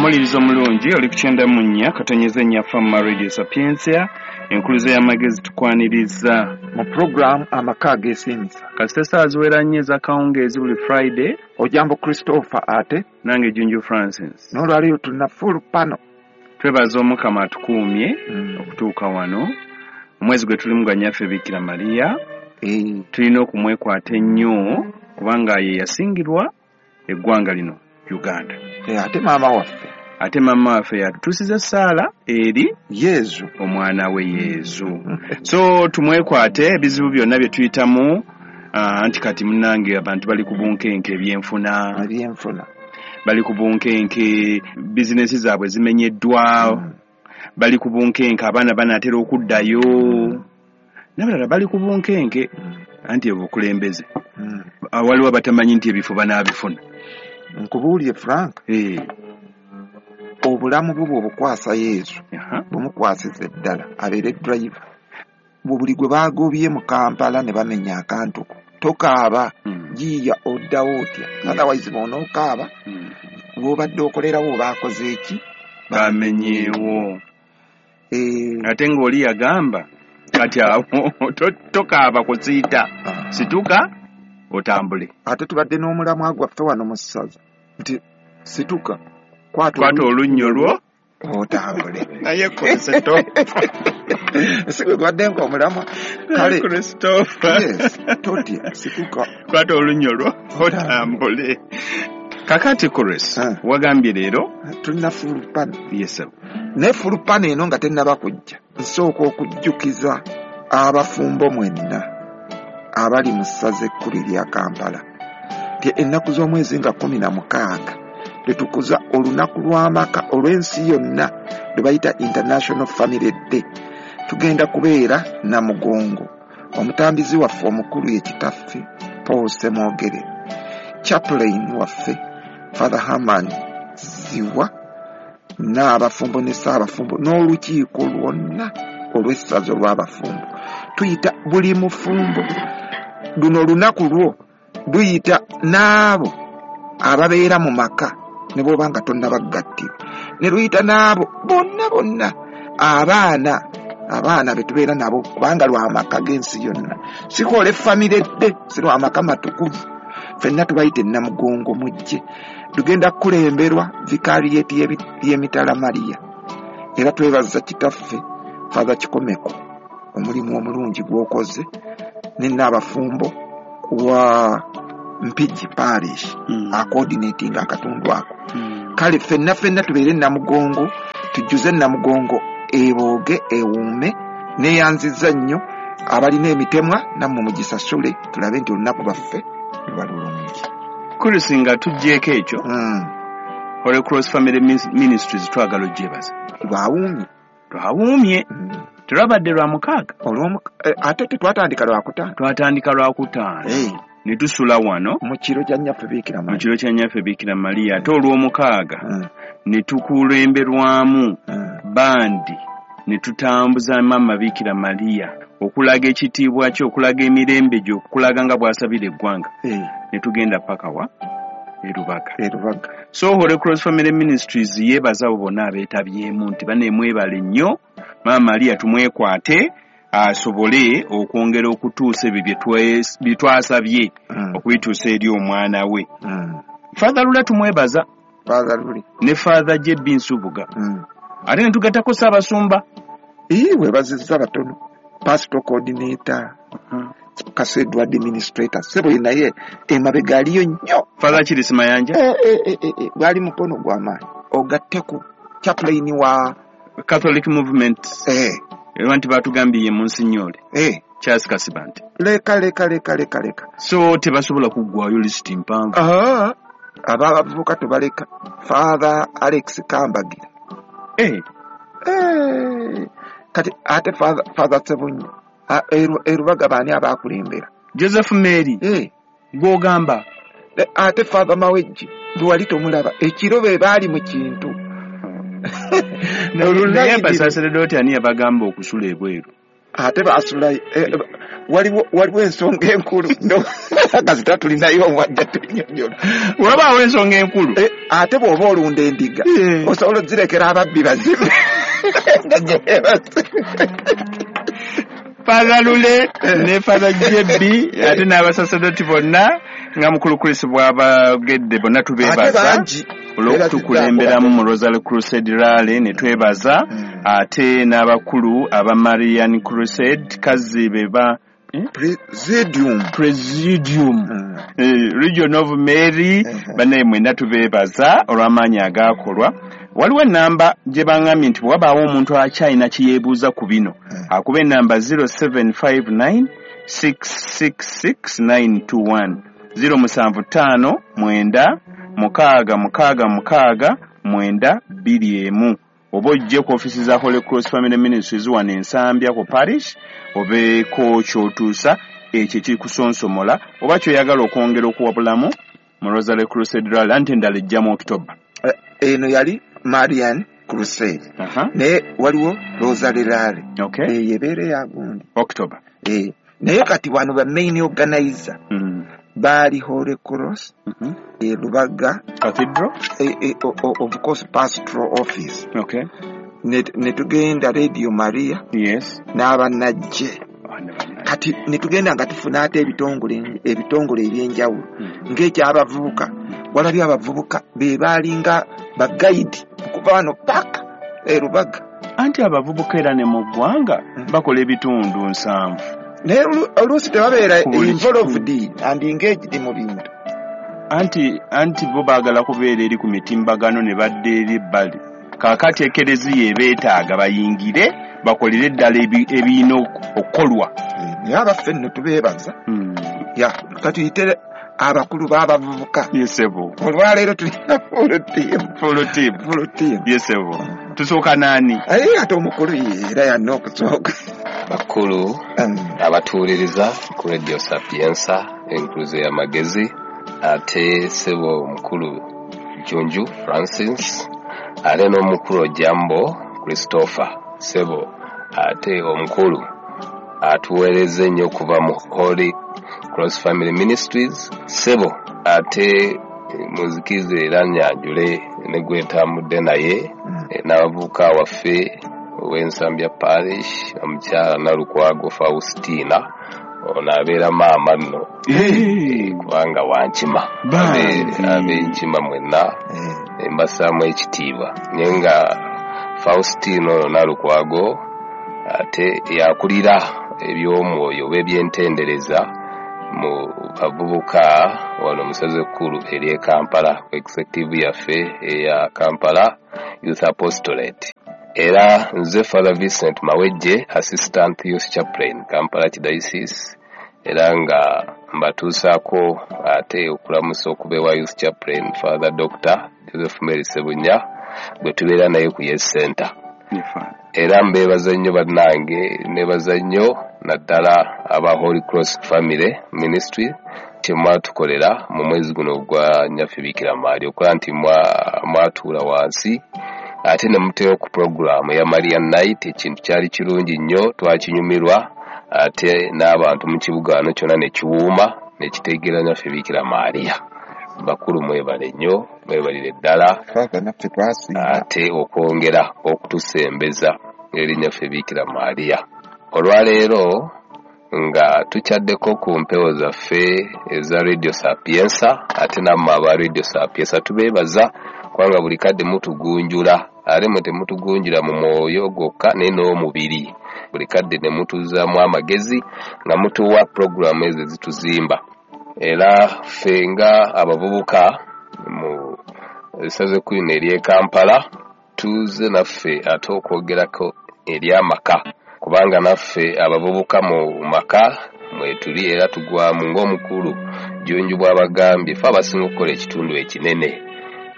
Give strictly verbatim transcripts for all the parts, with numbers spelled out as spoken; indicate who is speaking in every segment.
Speaker 1: Omulirizo omulungi oli ku kyenda mu nnya katonyeza ennya Fama Radio Sapientia, enkuluze y'amagezi tukwaniriza
Speaker 2: mu puroguramu Amaka Ageesiimisa.
Speaker 1: Kasita essaawa ziwera nnyo ez'akawungeezi buli Friday.
Speaker 2: Ojambo Christopher ate
Speaker 1: nange Junju Francis.
Speaker 2: N'olwaleero tulina full panel.
Speaker 1: Twebaza Omukama atukuumye
Speaker 2: Mm.
Speaker 1: okutuuka wano. Omwezi gwe tulimu gwa Nnyaffe Bikira Maria.
Speaker 2: Eh,
Speaker 1: Tulina okumwekwata ennyo kubanga ye yasingirwa eggwanga lino Uganda.
Speaker 2: eh, ate maama waffe
Speaker 1: Ate maama waffe yatutuusiza essaala eri
Speaker 2: Yezu
Speaker 1: omwana we Yezu. So tumwekwate ebizibu byonna bye tuyitamu, ah, anti kati munnange abantu bali ku bunkenke ebyenfuna,
Speaker 2: ebyenfuna
Speaker 1: bali ku bunkenke bizinesi zaabwe zimenyeddwa,
Speaker 2: Mm.
Speaker 1: bali ku bunkenke abaana banaatera okuddayo, n'abalala bali ku bunkenke
Speaker 2: Mm.
Speaker 1: anti obukulembeze.
Speaker 2: Mm.
Speaker 1: Ah, waliwo abatamanyi nti ebifo banaabifuna.
Speaker 2: Nkubuulire Frank,
Speaker 1: Eh,
Speaker 2: obulamu bwo bw'obukwasa Yezu,
Speaker 1: aha.
Speaker 2: bumukwasiza eddala abeere driver. Buli gwe baagobye mu Kampala ne bamenya akantu ko, tokaaba,
Speaker 1: Mm.
Speaker 2: giiya oddawo otya? Otherwise bw'onookaaba,
Speaker 1: Mm.
Speaker 2: bw'obadde okolerawo baakoze eki?
Speaker 1: Bamenyeewo.
Speaker 2: Eh,
Speaker 1: Ate ng'oli yagamba kati awo to- tokaaba kusiita,
Speaker 2: ah.
Speaker 1: situka otambule.
Speaker 2: Ate tubadde n'omulamwa gwaffe wano mu ssaza nti situka, kwata
Speaker 1: Kwata olunnyo lwo
Speaker 2: otambule.
Speaker 1: Naye Christopher.
Speaker 2: Si gwe gwadde ng'omulamwa kale.
Speaker 1: Christopher.
Speaker 2: Yes, totya, situka.
Speaker 1: Kwata olunnyo lwo otambule. Kakati Chris,
Speaker 2: Ah.
Speaker 1: wagambye leero
Speaker 2: Tulina fulupano.
Speaker 1: Yes, sir.
Speaker 2: Naye fulupano eno nga tennaba kujja, nsooka okujjukiza abafumbo mwenna abali mu ssaza ekkulu erya Kampala nti ennaku z'omwezi nga kkumi na mukaaga lwe tukuza olunaku lw'amaka olw'ensi yonna lwe bayita International Family Day. Tugenda kubeera Namugongo. Omutambizi waffe omukulu ye kitaffe Paul Ssemwogere, chaplain waffe Father Herman Ziwa, n'abafumbo ne ssaabafumbo n'olukiiko lwonna olw'essaza olw'abafumbo. Tuyita buli mufumbo, luno olunaku lwo luyita n'abo ababeera mu maka ne bw'oba nga tonnabaggattirwa, ne luyita n'abo bonna bonna abaana abaana be tubeera nabo, kubanga lw'amaka g'ensi yonna, si kola effamire dde, si lw'amaka matukuvu. Ffenna tubayita e Namugongo, mujje. Tugenda kukulemberwa vikariyeti y'Emitala Maria, era twebaza kitaffe Father Kikomeko omulimu omulungi gw'okoze ne nnaabafumbo wa Mpigi Parish
Speaker 1: Mm.
Speaker 2: acoordinating akatundu ako.
Speaker 1: Mm.
Speaker 2: Kale ffenna ffenna tubeere Namugongo, tujjuze Namugongo ebooge ewuume. Neeyanzizza nnyo abalina emitemwa, nammwe mugisasule tulabe nti olunaku lwaffe luba lulungi.
Speaker 1: Chris, nga tuggyeeko ekyo,
Speaker 2: Mm.
Speaker 1: Holy Cross Family Ministries twagala ogyebaza.
Speaker 2: Lwawuumye.
Speaker 1: Lwawuumye.
Speaker 2: Mm.
Speaker 1: Telwabadde lwa mukaaga.
Speaker 2: Olw'omuka- eh, ate tetwatandika Lwakutaano?
Speaker 1: Twatandika Lwakutaano
Speaker 2: Eh,
Speaker 1: ne tusula wano
Speaker 2: mu kiro kya Nnyaffe Biikira
Speaker 1: mu
Speaker 2: Maria.
Speaker 1: kiro kya Nnyaffe Biikira Maria, ate olw'omukaaga
Speaker 2: Mm,
Speaker 1: ne tukulemberwamu
Speaker 2: mm.
Speaker 1: bandi ne tutambuza Maama Biikira Maria okulaga ekitiibwa kye, okulaga emirembe gye, okulaga nga bw'asabira eggwanga,
Speaker 2: Eh,
Speaker 1: ne tugenda paka wa e Rubaga.
Speaker 2: e Rubaga.
Speaker 1: So Holy Cross Family Ministries yeebaza abo bonna abeetabyemu nti baneemwebale nnyo. Maama Maria tumwekwate asobole okwongera okutuusa ebyo bye twe- bye twasabye
Speaker 2: Mm,
Speaker 1: okubituusa eri omwana we.
Speaker 2: mm.
Speaker 1: Father Lula tumwebaza
Speaker 2: Father Luli.
Speaker 1: ne Father J B Nsubuga,
Speaker 2: Mm.
Speaker 1: ate ne tugattako Ssaabasumba.
Speaker 2: Ii, weebazizza batono, pastor coordinator, Kasedwa administrator, sebo ye naye emabega aliyo nnyo.
Speaker 1: Father Kiris Mayanja.
Speaker 2: Eh, eh, eh, eh, eh, gwali mukono gw'amaanyi, ogatteku chaplain wa
Speaker 1: Catholic Movement,
Speaker 2: eh,
Speaker 1: era nti batugambye ye Monsignore
Speaker 2: eh.
Speaker 1: Charles Kasibante.
Speaker 2: Leka leka leka leka leka.
Speaker 1: So tebasobola kuggwayo, lisiti mpanvu.
Speaker 2: Ah, abavubuka tubaleka, Father Alex Kambagira.
Speaker 1: Eh,
Speaker 2: Eh, kati ate Father, Father Sebunye erubaga baani abakulembera?
Speaker 1: Joseph Mary.
Speaker 2: Eh,
Speaker 1: gw'ogamba.
Speaker 2: eh, ate Father Mawejje gwe wali tomulaba ekiro, be baali mu kintu.
Speaker 1: Naye abasaseredooti ani yabagamba okusula ebweru?
Speaker 2: Ate basula eh, waliwo waliwo ensonga enkulu kasita tulinayo omwajja tunyonyola.
Speaker 1: Wabaawo ensonga enkulu
Speaker 2: eh, ate bw'oba olunda endiga
Speaker 1: yeah.
Speaker 2: Osobola ozirekera ababbi bazibe.
Speaker 1: Father Lule ne Father J B ate n'abasaserdoti bonna nga mukulu Chris bw'abagedde bonna tubeebaza olw'okutukulemberamu mu Rosary Crusade Rally ne twebaza
Speaker 2: Mm.
Speaker 1: ate n'abakulu aba Marian Crusade kazi be ba eh?
Speaker 2: Presidium.
Speaker 1: Presidium
Speaker 2: Mm.
Speaker 1: eh, Region of Mary.
Speaker 2: Mhm.
Speaker 1: Bannaye mwenna tubeebaza olw'amaanyi agaakolwa. Waliwo enamba gye baŋŋambye nti bwe wabaawo omuntu akyalina kye yeebuuza ku bino
Speaker 2: Mm.
Speaker 1: akuba enamba zero seven five nine six six six nine two one, zero musanvu ttaano mwenda mukaaga mukaaga mukaaga mwenda bbiri emu, oba ojje ku ofisi za Holy Cross Family Ministries wano Ensambya ku parish, obeeko kyotuusa ekyo ekikusonsomola oba kyoyagala okwongera okuwabulamu mu Rosary Crusade Rally, anti endala ejja mu October.
Speaker 2: Eh, eno yali Marian Crusade,
Speaker 1: Aha,
Speaker 2: naye waliwo Rosary Rally
Speaker 1: okay
Speaker 2: eyo ebeera eyagundi
Speaker 1: October.
Speaker 2: Eh, naye kati wano ba main organizer
Speaker 1: Mm.
Speaker 2: baali Holy Cross
Speaker 1: Mhm.
Speaker 2: e Lubaga
Speaker 1: Cathedral.
Speaker 2: eh, eh, o- o- of course pastoral office,
Speaker 1: okay
Speaker 2: ne ne tugenda Radio Maria
Speaker 1: yes
Speaker 2: n'abannajje.
Speaker 1: Bana banna.
Speaker 2: Kati ne tugenda nga tufuna ate ebitongole ebitongole ebyenjawulo
Speaker 1: Mm.
Speaker 2: ng'ekyabavubuka. Walabye abavubuka be baalinga bagayidi okuva wano paka e Lubaga.
Speaker 1: Anti abavubuka era ne mu ggwanga
Speaker 2: Mm.
Speaker 1: bakola ebitundu nsanvu.
Speaker 2: Naye olu- oluusi tebabeera
Speaker 1: Ku buli
Speaker 2: involved and engaged mu bintu.
Speaker 1: Anti anti bo baagala kubeera eri ku mitimbagano ne badda eri ebbali. Kaakati ekereziya ebeetaaga bayingire bakolere eddala ebi- ebirina ok- okukolwa.
Speaker 2: Eh, naye abaffe nno tubeebaza.
Speaker 1: Mm.
Speaker 2: Ya, katuyite abakulu b'abavubuka.
Speaker 1: Yesebo.
Speaker 2: Olwaleero tulina full team.
Speaker 1: Full team.
Speaker 2: Full team.
Speaker 1: Yesebo, tusooka naani?
Speaker 2: Aye ate omukulu ye era yanna okusooka.
Speaker 3: Bakulu
Speaker 2: Mm.
Speaker 3: abatuwuliriza ku Radio Sapiensa enkuluze y'amagezi, ate sebo omukulu Junju Francis, ate n'omukulu Ojambo Christopher, sebo ate omukulu atuweereza ennyo okuva mu Holy Cross Family Ministries, sebo ate muzikize era nyanjule ne gwe ntambudde naye
Speaker 2: Mm.
Speaker 3: eh, n'abavubuka waffe ow'Ensambya Parish, omukyala Nalukwago Faustina. Ono abeera maama nno
Speaker 1: Eh,
Speaker 3: kubanga wankima.
Speaker 1: Bambi.
Speaker 3: Ab'enkima mwenna
Speaker 2: Eh,
Speaker 3: mbasaamu ekitiibwa, naye nga Faustina ono Nalukwago ate yakulira eby'omwoyo oba ebyentendereza mu bavubuka wano musaza ekkulu ery'e Kampala ku executive yaffe eya Kampala Youth Apostolate. Era nze Father Vincent Mawejje, Assistant Youth Chaplain, Kampala Archdiocese, era nga mbatuusaako ate okulamusa okuba ewa Youth Chaplain Father Doctor Joseph Mary Sebunya gwe tubeera naye ku Yes Center.
Speaker 1: Ye Father.
Speaker 3: Era mbeebaza nnyo bannange, nebaza nnyo naddala aba Holy Cross Family Ministry kyemwatukolera mu mwezi guno ogwa Nyaffe Bikira Maria, okukola nti mwa- mwatuula wansi ate ne muteeka ku puroguramu eya Marian Night. Ekintu kyali kirungi nnyo, twakinyumirwa, ate n'abantu mu kibuga wano kyonna ne kiwuuma ne kitegeera Nyaffe Bikira Maria. Bakulu mwebale nnyo, mwebalire ddala.
Speaker 2: Father, naffe twasiima.
Speaker 3: Ate okwongera okutusembeza eri Nyaffe Bikira Maria. Olwaleero nga tukyaddeko ku mpewo zaffe eza Radio Sapiensa, ate nammwe aba Radio Sapiensa tubeebaza kubanga buli kadde mutugunjula, ate mwe temutugunjula mu mwoyo gwokka naye n'omubiri. Buli kadde ne mutuzaamu amagezi nga mutuwa puroguramu ezo ezituzimba. Era ffe nga abavubuka mu essaza ekkulu lino ery'e Kampala tuze naffe ate okwogerako ery'amaka, kubanga naffe abavubuka mu maka mwetuli era tugwamu ng'omukulu Junju bw'abagambye, fe abasinga okukola ekitundu ekinene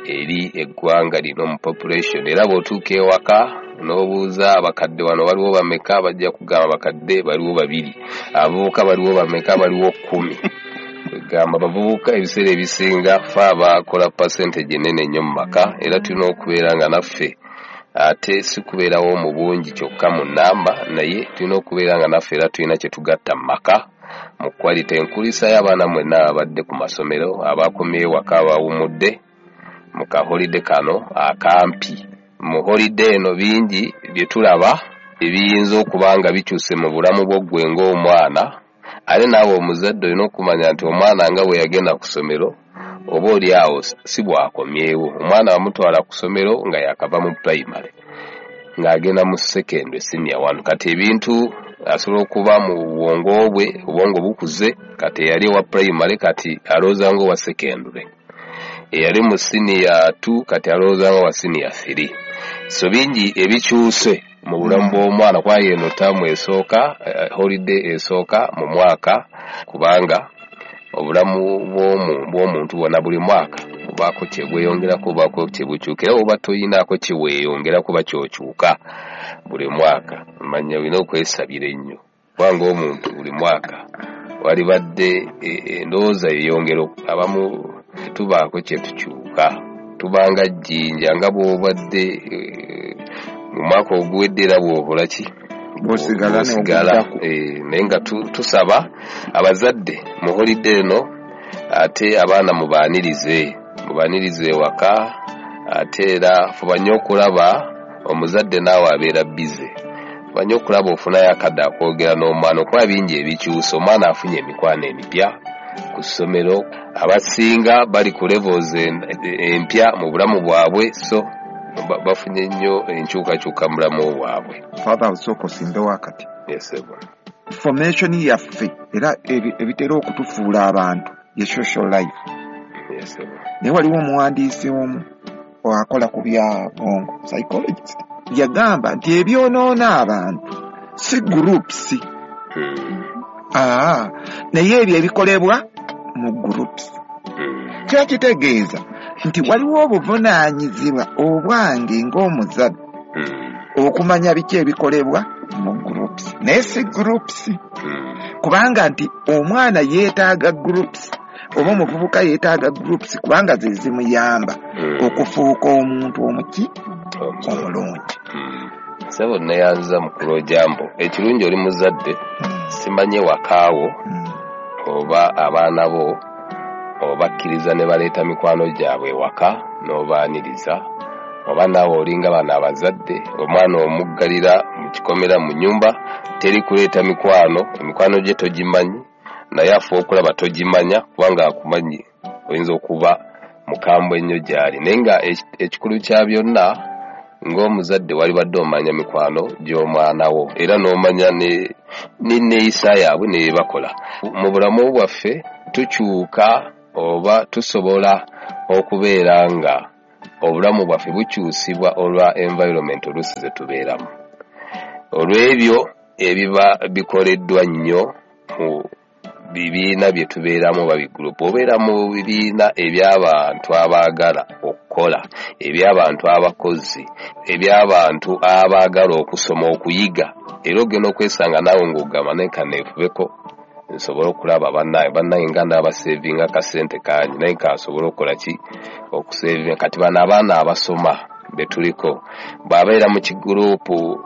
Speaker 3: eri eggwanga lino mu population. Era bw'otuuka ewaka n'obuuza abakadde wano waliwo bameka, bajja kugamba abakadde baliwo babiri, abavubuka baliwo bameka, baliwo kkumi. Kwegamba abavubuka ebiseera ebisinga fe abakola percentage enene ennyo mu maka, era tulina okubeera nga naffe Ate si kubeerawo mu bungi kyokka mu nnamba, naye tulina okubeera nga naffe era tulina kye tugatta mu maka mu quality. Enkulisa y'abaana mwenna abadde ku masomero, abakomyewo waka, abawumudde mu kaholide kano akampi. Mu holide eno bingi bye tulaba ebiyinza okuba nga bikyuse mu bulamu bwo ggwe ng'omwana. Ate naawe omuzadde olina okumanya nti omwana nga bwe yagenda ku ssomero oba oli awo si bw'akomyewo. Omwana bamutwala ku ssomero nga yakava mu primary ng'agenda mu secondary senior one. Kati ebintu asobola okuba mu bwongo bwe, obwongo bukuze, kati eyali owa primary kati alowooza ng'owa secondary, eyali mu senior two kati alowooza ng'owa senior three. So bingi ebikyuse mu bulamu bw'omwana, kuba eno ttaamu esooka, holiday esooka mu mwaka, kubanga obulamu bw'omuntu bwonna buli mwaka bubaako kye bweyongerako, bubaako kye bukyuka, era oba toyinaako kye weeyongerako oba ky'okyuka buli mwaka. Manya olina okwesabira ennyo, kubanga omuntu buli mwaka walibadde endowooza yeyongera. Abamu tubaako kye tukyuka, tubanga jjinja nga bw'obadde mu mwaka oguwedde era bw'okola ki
Speaker 2: bw'osigala.
Speaker 3: Naye nga tusaba abazadde mu holiday eno ate abaana mubaanirize, mubaanirize ewaka. Ate era fuba nnyo okulaba omuzadde naawe abeera bize, fuba nnyo okulaba ofunayo akadde akwogera n'omwana, okuba bingi ebikyusa. Omwana afunye emikwano emipya ku ssomero, abasinga bali ku levels empya mu bulamu bwabwe, so bafunye nnyo enkyukakyuka mu bulamu bwabwe.
Speaker 2: Father, osooka osimbewo akati.
Speaker 3: Yes, sir.
Speaker 2: Formation yaffe era ebitera okutufuula abantu ye social life.
Speaker 3: Yes, sir.
Speaker 2: Naye waliwo omuwandiisi omu akola ku bya bwongo, psychologist, yagamba nti ebyonoona abantu si groups,
Speaker 3: Hmm.
Speaker 2: aa, naye ebyo ebikolebwa mu groups.
Speaker 3: Hmm.
Speaker 2: Kiba kitegeeza nti waliwo obuvunaanyizibwa obwange ng'omuzadde
Speaker 3: Hmm.
Speaker 2: okumanya biki ebikolebwa mu groups, naye si groups.
Speaker 3: Hmm.
Speaker 2: Kubanga nti omwana yeetaaga groups oba omuvubuka yeetaaga groups, kubanga ze zimuyamba
Speaker 3: Hmm.
Speaker 2: okufuuka omuntu omuki omulungi.
Speaker 3: Hmm. Ssebo neeyanziza mukulu Ojambo, ekirungi oli muzadde,
Speaker 2: Hmm.
Speaker 3: simanye wakaawo
Speaker 2: Hmm.
Speaker 3: oba abaana bo obakkiriza ne baleeta mikwano gyabwe ewaka n'obaaniriza, oba naawe olinga bano abazadde omwana omuggalira mu kikomera mu nnyumba, teri kuleeta mikwano, emikwano gye togimanyi, naye afuba okulaba togimanya kubanga akumanyi oyinza okuba mukambwe ennyo gy'ali. Naye nga ekikulu kya byonna ng'omuzadde walibadde omanya mikwano gy'omwana wo, era n'omanya n'enneeyisa yaabwe ne bye bakola. Mu bulamu bwaffe tukyuka oba tusobola okubeera nga obulamu bwaffe bukyusibwa olwa environment oluusi ze tubeeramu, olw'ebyo ebiba bikoleddwa nnyo mu bibiina bye tubeeramu oba bigurupu. Obeera mu bibiina eby'abantu abaagala okukola, eby'abantu abakozi, eby'abantu abaagala okusoma, okuyiga, era ogenda okwesanga naawe ng'ogamba naye kaneefubeko nsobole okulaba bannaye, bannaye nga ndaabaseevinga akasente kangi, naye kansobole okukola ki okuseevinga. Kati bano abaana abasoma be tuliko bw'abeera mu kigurupu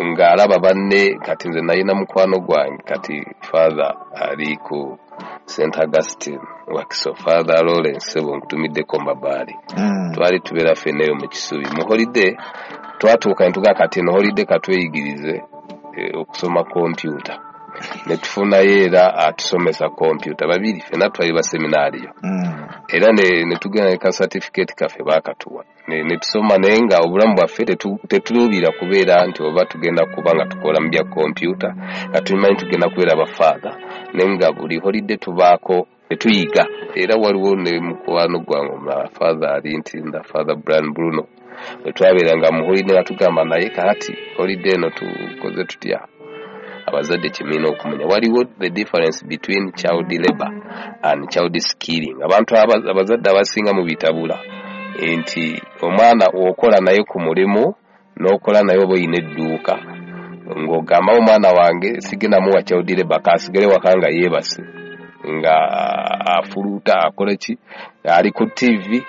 Speaker 3: ng'alaba banne, kati nze nalina mukwano gwange, kati Father ali ku Saint Augustine Wakiso, Father Lawrence Ssebo nkutumiddeko Mbabaali.
Speaker 2: Mm.
Speaker 3: Twali tubeera ffenna eyo mu Kisubi mu holiday, twatuuka ne tugamba kati eno holiday katweyigirize eh, okusoma kompyuta, ne tufunayo era atusomesa kompyuta babiri, ffenna twali baseminaariyo.
Speaker 2: Mm.
Speaker 3: Era ne, ne tugenda ne ka certificate kaffe baakatuwa ne, ne tusoma, naye nga obulamu bwaffe tetuluubira kubeera nti oba tugenda kuba nga tukola mu bya kompyuta, nga tumanyi tugenda kubeera bafaatha, naye nga buli holiday tubaako ne tuyiga. Era waliwo ne mukwano gwange omulala, Father ali Ntinda, Father Brian Bruno, bwe twabeeranga mu holiday nga tugamba naye kaati holiday eno tukoze tutya. Abazadde kye mulina okumanya, waliwo the difference between child labor and child skilling. Abantu abazadde abasinga mu bitabula nti omwana okola naye ku mulimu n'okola naye oba oyina edduuka, ng'ogamba omwana wange sigenda muwa child labor, kaasigale waka nga yeebase, nga afuluuta akola ki, ali ku T V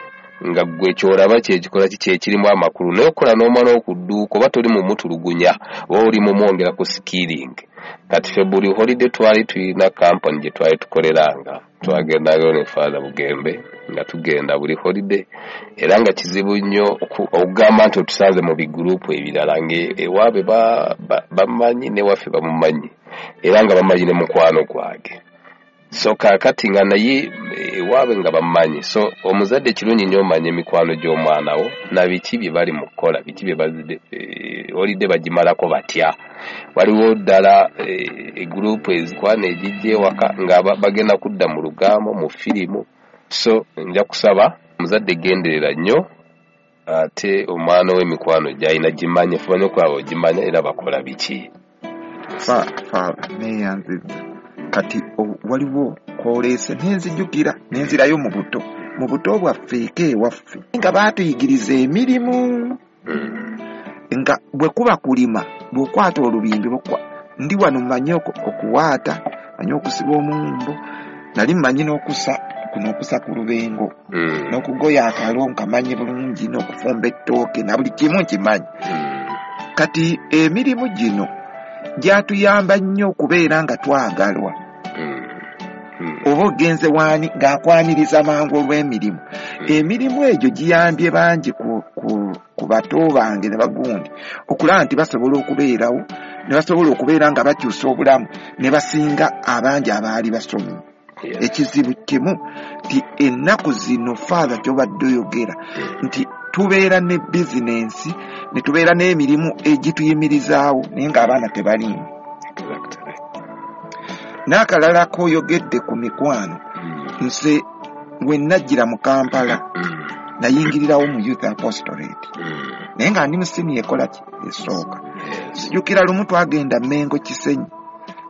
Speaker 3: Nga gwe ky'olaba kyekikola ki kyekirimu amakulu, naye okola n'omwana okudduuka oba toli mumutulugunya oba oli mumwongera ku skilling. Kati ffe buli holiday twali tulina kampani gye twali tukoleranga, twagendangayo ne Father Bugembe nga tugenda buli holiday, era nga kizibu nnyo okugamba nti otusanze mu bigurupu ebirala ng'ewaabwe bamanyi newaffe bamumanyi, era nga bamanyi ne mukwano gwange. So kaakati nga naye ewaabwe nga bamumanyi. So omuzadde kirungi nnyo omanye emikwano gy'omwana wo na biki bye bali mu kukola, biki bye bazidde holiday bagimalako batya. Waliwo ddala egurupu ezikwana egijja ewaka nga bagenda kudda mu lugambo mu firimu. So nja kusaba omuzadde genderera nnyo, ate omwana w'emikwano gy'alina gimanye, fuba nnyo okulaba ogimanya era bakola biki.
Speaker 2: Fa fa neeyanzizza. Kati waliwo kwoleese nenzijjukira nenzirayo mu buto, mu buto bwaffe eka ewaffe nga baatuyigiriza emirimu, nga bwe kuba kulima bw'okwata olubimbi, ndi wano mmanyi okuwaata, mmanyi okusiba omuwumbo, nali mmanyi n'okusa kuno okusa ku lubengo, n'okugoya akalo nkamanyi bulungi, n'okufumba ettooke na buli kimu nkimanyi. Kati emirimu gino gyatuyamba nnyo okubeera nga twagalwa. Oba ogenze waani ng'akwaniriza mangu olw'emirimu. Emirimu egyo giyambye bangi ku, ku, ku bato bange ne bagundi okulaba nti basobola okubeerawo, ne basobola okubeera nga bakyusa obulamu ne basinga abangi abaali basomye. Ekizibu kimu nti ennaku zino Father ky'obadde oyogera nti tubeera ne bizinensi ne tubeera n'emirimu egituyimirizaawo naye ng'abaana tebaliimu. N'akalala k'oyogedde ku mikwano, nze we najjira mu Kampala nayingirirawo mu Youth Apostolate, naye nga ndi mu siniya ekola ki esooka. Sijjukira lumu twagenda Mengo Kisenyi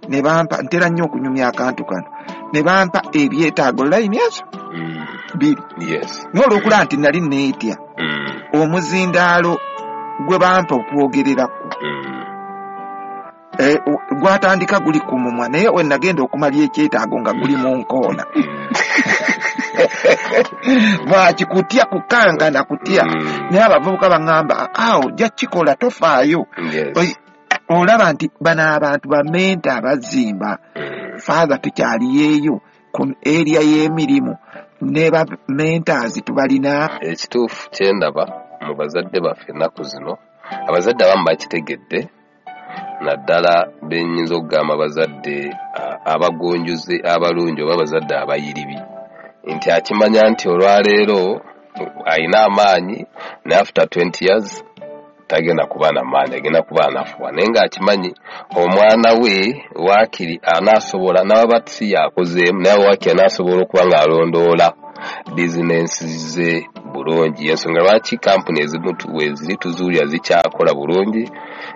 Speaker 2: ne bampa, ntera nnyo okunyumya akantu kano, ne bampa ebyetaago layini ezo bbiri. Naye olw'okulaba nti nali neetya omuzindaalo gwe bampa okwogererako gwatandika guli ku mumwa, naye we nagenda okumala ekyetaago nga guli mu nkoona. Lwaki kutya, kukankana kutya. Naye abavubuka baŋŋamba awo ojja kukikola tofaayo. Olaba nti bano abantu bamenta abazimba. Father tukyaliyeeyo ku area y'emirimu ne ba mentors tubalina.
Speaker 3: Ekituufu kye ndaba mu bazadde baffe ennaku zino, abazadde abamu bakitegedde, naddala bennyinza okugamba abazadde abagunjuzi abalungi oba abazadde abayiribi, nti akimanya nti olwaleero alina amaanyi naye after twenty years tagenda kuba na maanyi, agenda kuba anafuwa, naye ng'akimanyi omwana we waakiri anaasobola n'aba si yakozeemu, naye waakiri anaasobola okuba ng'alondoola bizinensi ze bulungi. Ensonga lwaki kampuni ezimu weziri tuzuulira zikyakola bulungi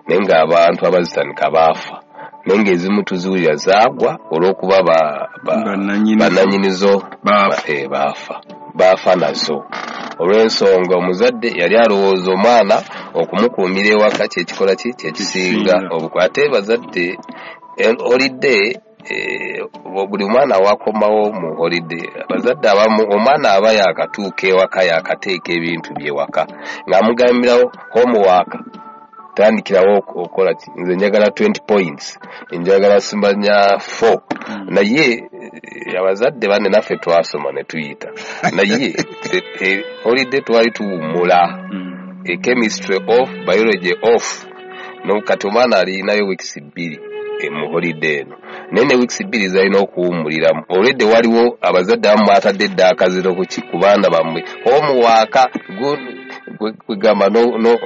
Speaker 3: naye ng'abantu abazitandika baafa, naye ng'ezimu tuzuulira zaagwa olw'okuba bannannyinizo baafa baafa nazo. Olw'ensonga omuzadde yali alowooza omwana okumukuumira ewaka kyekikola ki kyekisinga obuku. Ate bazadde holiday, buli mwana wakomawo mu holiday, abazadde abamu omwana aba yakatuuka ewaka yakateeka ebintu byewaka ng'amugambirawo homework, tandikirawo okukola ki, nze njagala twenty points, njagala simanya four. Naye abazadde banne naffe twasoma ne tuyita, naye holiday twali tuwummula, chemistry off, biology off. No kati omwana alinayo weeks bbiri mu holiday eno, naye ne weeks bbiri zalina okuwummuliramu. Olwedde waliwo abazadde abamu batadde edda akaziro ku baana bammwe, homework kwegamba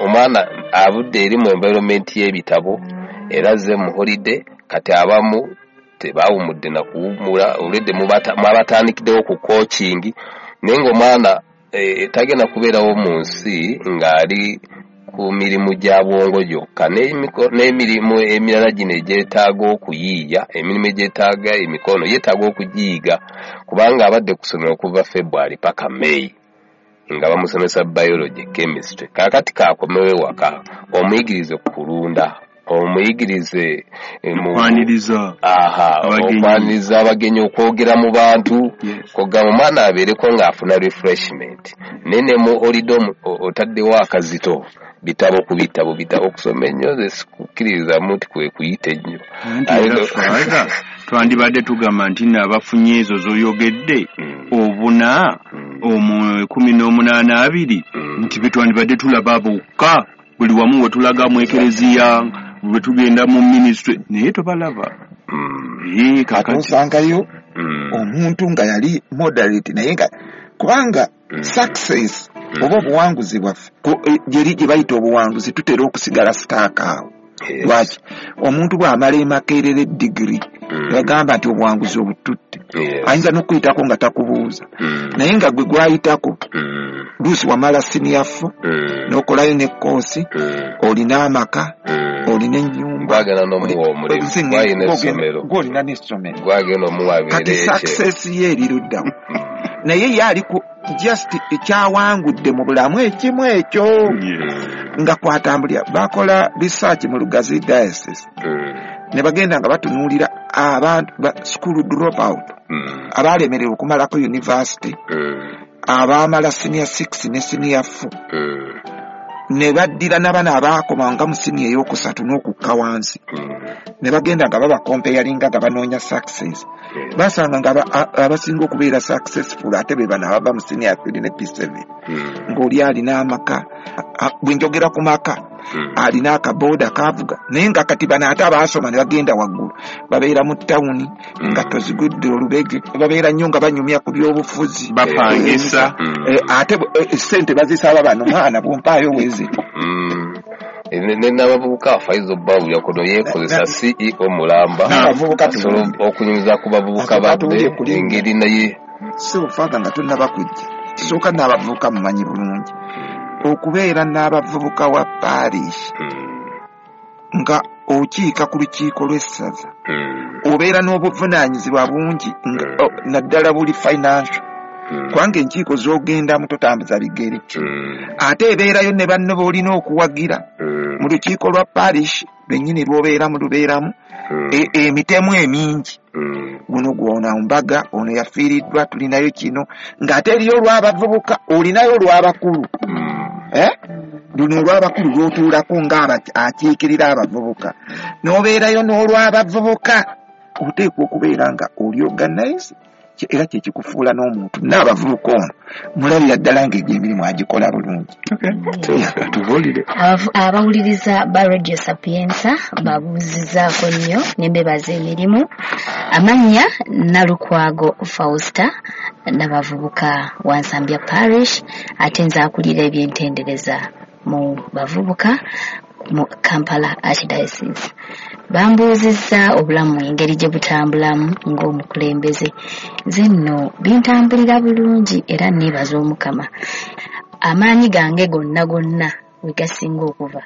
Speaker 3: omwana avudde eri mu environment y'ebitabo era azze mu holiday. Kati abamu tebawummudde na kuwummula, olwedde mwabatandikiddewo ku coaching, naye ng'omwana tagenda kubeerawo mu nsi ng'ali ku mirimu gya bwongo gyokka, n'emirimu emirala gino egyetaaga okuyiiya, emirimu egyetaaga emikono yeetaaga okugiyiga, kubanga abadde ku ssomero okuva February paka May nga bamusomesa biology, chemistry. Kaakati kaakomewo ewaka omuyigirize kulunda, Omuyigirize
Speaker 1: okwaniriza
Speaker 3: okwaniriza abagenyi, okwogera mu bantu, kogamba omwana abeereko ng'afuna refreshment. Naye ne mu holiday otaddewo akazito, bitabo ku bitabo, bitabo okusoma ennyo, nze sikukkiririzamu nti kwe kuyita ennyo.
Speaker 1: Twandibadde tugamba nti nno abafunye ezo z'oyogedde obuna kumi n'omunaana abiri nti be twandibadde tulaba bokka buli wamu we tulaga mu ekereziya, bwe tugenda mu ministry, naye tobalaba.
Speaker 2: Ate osangayo omuntu nga yali moderate, naye nga kubanga success oba obuwanguzi bwaffe gyeri gye bayita obuwanguzi, tutera okusigala sitaaka awo. Lwaki? Omuntu bw'amala e Makerere digiri yagamba nti obuwanguzi obututte, ayinza n'okuyitako nga takubuuza, naye nga gwe gwayitako luusi wamala siniya four n'okolayo ne koosi, olina amaka, olina ennyumba, gw'olina n'essomero, kati success ye eri luddawo. Naye ye ali ku just ekyawangudde mu bulamu ekimu ekyo nga kwatambulira. Bakola research mu Lugazi Diocese ne bagenda nga batunuulira abantu ba school drop out, abalemererwa okumalako university, abaamala senior six ne senior four, ne baddira n'abaana abaakomanga mu siniya ey'okusatu n'okukka wansi, ne bagenda nga babakompeyalinga nga banoonya success. Basanga nga abasinga okubeera successful ate be bano abava mu siniya three ne P seven, ng'oli alina amaka. Bwe njogera ku maka, alina akabooda kavuga, naye nga kati bano ate abaasoma ne bagenda waggulu babeera mu tawuni nga tozigudde olubege, babeera nnyo nga banyumya ku byobufuzi,
Speaker 1: bapangisa,
Speaker 2: ate ssente bazisaba bano, mwana bwompaayo wezi.
Speaker 3: N'abavubuka Faizo Babu yakono yeekozesa C E O mulamba asobola okunyumiza ku bavubuka badde engeri naye.
Speaker 2: So Father, nga tonnaba kujja, kisooka n'abavubuka mumanyi bulungi okubeera n'abavubuka wa parish nga okiika ku lukiiko lw'essaza, obeera n'obuvunaanyizibwa bungi, naddala buli financial, kubanga enkiiko z'ogendamu totambuza bigere, ate ebeerayo ne banno b'olina okuwagira mu lukiiko lwa parish lwennyini lw'obeeramu lubeeramu emitemu emingi, guno gwona mbaga, ono yafiiriddwa, tulinayo kino, ng'ate eriyo olw'abavubuka, olinayo olw'abakulu. Luno olw'abakulu lw'otuulako nga akiikirira abavubuka, n'obeerayo n'olw'abavubuka. Oteekwa okubeera nga oli organize, era kye kikufuula n'omuntu. N'abavubuka ono mulabira ddala ng'egyo emirimu agikola bulungi.
Speaker 4: Abawuliriza ba Radio Sapienza babuuzizaako nnyo ne mbebaza emirimu. Amannya Nalukwago Fausta, n'abavubuka wa Nsambya Parish, ate nze akulira ebyentendereza mu bavubuka mu Kampala Archdiocese. Bambuuzizza obulamu engeri gye butambulamu ng'omukulembeze. Nze nno bintambulira bulungi era neebaza Omukama. Amaanyi gange gonna gonna we gasinga okuva